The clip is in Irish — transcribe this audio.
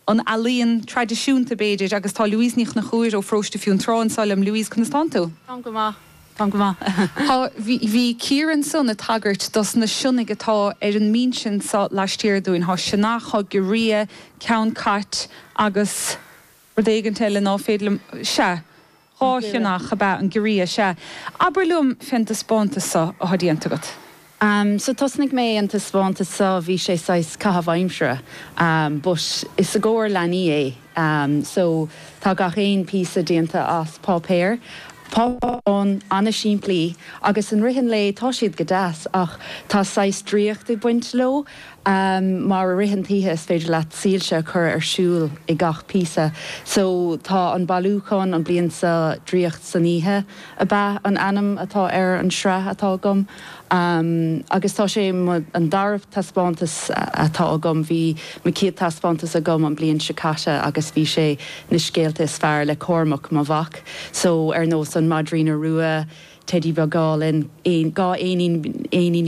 An ealaíon traidisiúnta, b'fhéidir, agus tá Louise Ní Chonchúir ó Pharóiste Fionntrá anseo liom. Louise, conas tánn tú? Táim go maith. Táim go maith. Tá, bhí, bhí Ciara ansan ag tagairt dos na sionnaigh atá ar an mbinse anso laistiar dúinn. Tá sionnach, tá giorria, ceann cait agus rud éigint eile ná féidir liom, sea, 2 shionnach ab ea an giorria, sea. Abair liom fén dtaispeántas so atá déanta agat. So thosnaigh mé an taispeántas so, bhí sé saghas caitheamh aimsire but is i gcomhair leanaí é. So tá gach aon píosa déanta as páipéar, páipéar bán an-simplí agus in rith an lae tá siad go deas ach tá saghas draíocht ag baint leo. Mar i rith an t-oíche is féidir leat soilse a chur ar siúl i gach píosa. So tá an bailiúchán an bliain seo Draíocht san Oíche ab ea an ainm atá ar an sraith atá agam. Agus tá sé mo an dara taispeántas atá agam. Bhí mo chéad taispeántas agam an bliain seo caite agus bhí sé na scéalta is fearr le Cormac mo mhac. So ar nós an Maidrín Rua, Teidí Beag Álainn, 2 éinín, éiníní.